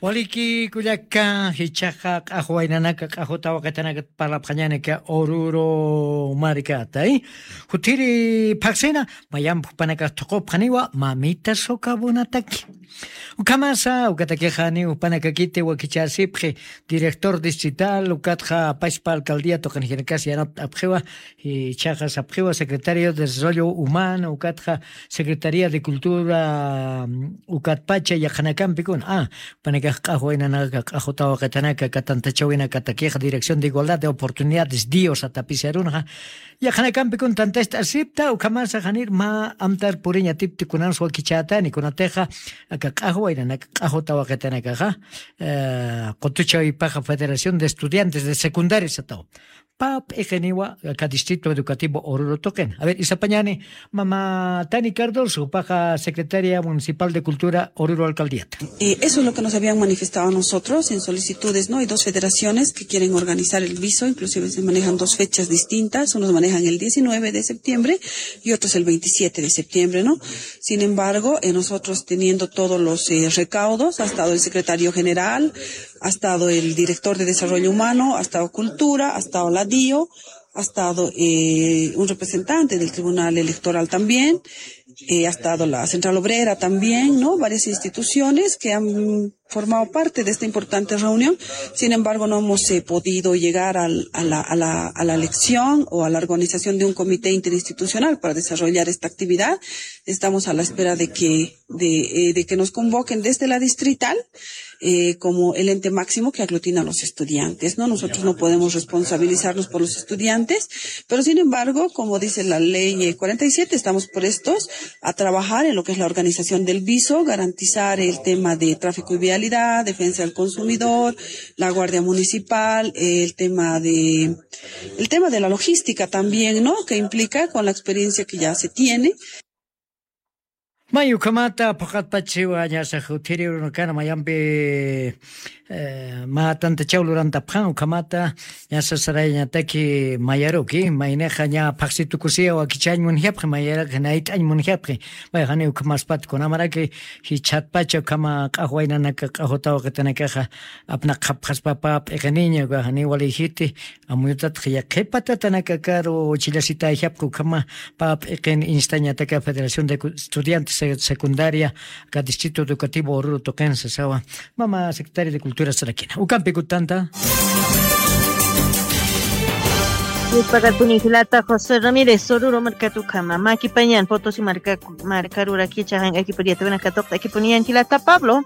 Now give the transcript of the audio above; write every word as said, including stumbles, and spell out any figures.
Waliki kullaka, jichhaxa q'axwa waynanaka, q'axwa tawaqitanaka parlapxañanaka Oruro markata, ¿eh? Juthiri phaxsina, mayamp jupanakax thuqupxaniwa, mamita socavonataki. Ukhamasa, ukatakixa janiw jupanakakiti wakichasipxi, director distrital, ukatxa pachpa alcaldía tuqinjirkas yanapt'apxiwa, jichhaxa sapxiwa secretario de Desarrollo Humano, ukatxa Secretaría de Cultura, mm, ukatpacha yaqhanakampikuna. Ah, jupanakax q'axwa waynanaka, q'axwa tawaqitanaka, aka tantachawinakatakixa, Dirección de Igualdad de Oportunidades, DIO satapisarunxa. Yaqhanakampikuna tantachasipta, ukhamasa janir mä amtar puriñ atipti kunans wakichätani, kunatixa, aka q'axwa waynanaka, q'axwa tawaqitanakaxa, eh, qutuchawipaxa Federación de Estudiantes de Secundaria satawa. Pä p'iqiniwa aka Distrito Educativo Oruro tuqin. A ver, isapañani, mama Tani Cardoso, jupaxa secretaria municipal de Cultura, Oruro Alcaldía. Eh, eso es lo que nos habían manifestado a nosotros en solicitudes, ¿no? Hay dos federaciones que quieren organizar el viso, inclusive se manejan dos fechas distintas, unos manejan el diecinueve de septiembre y otros el veintisiete de septiembre, ¿no? Sin embargo, eh, nosotros teniendo todos los, eh, recaudos, ha estado el secretario general, ha estado el director de Desarrollo Humano, ha estado Cultura, ha estado la DIO, ha estado, eh, un representante del Tribunal Electoral también, eh, ha estado la Central Obrera también, ¿no? Varias instituciones que han formado parte de esta importante reunión. Sin embargo, no hemos, eh, podido llegar al, a la, a la, a la elección o a la organización de un comité interinstitucional para desarrollar esta actividad. Estamos a la espera de que, de, eh, de que nos convoquen desde la distrital, eh, como el ente máximo que aglutina a los estudiantes, ¿no? Nosotros no podemos responsabilizarnos por los estudiantes, pero sin embargo, como dice la ley, eh, cuarenta y siete, estamos prestos a trabajar en lo que es la organización del viso, garantizar el tema de tráfico y vialidad, defensa del consumidor, la Guardia Municipal, el tema de, el tema de la logística también, ¿no? Que implica con la experiencia que ya se tiene. May ukhamata phuqatpachiwa ñasa juthiri urunakana mayampi, eh, mä tantachaw lurantapxan, ukhamata ñasa sarayañataki mayaruki, maynixa ña phaxsi tukusiya wakichañ munjapxi, mayaraki nayt'añ munjapxi, may jani ukhamaspat kunamaraki jichhatpacha ukhama q'axwa waynanaka, q'axwa tawaqitanakaxa apnaqxapxaspa pä p'iqiniña, uka jani walïjiti, amuyutatxa yaqhip patatanakakaru chillasitayjapxi ukhama pä p'iqin instañataka Federación de Cu-, Estudiantes Se-, Secundaria, aka Distrito Educativo Oruro tuqin sasawa, mama Secretaria de Cultura sarakina. Ukampi kutanta. Yuspagarpuni jilata José Ramírez, Oruro markat ukhama, makipañan, Potosí marka, markaruraki chajan akipuriata, buena katuqta akipuniyan jilata Pablo.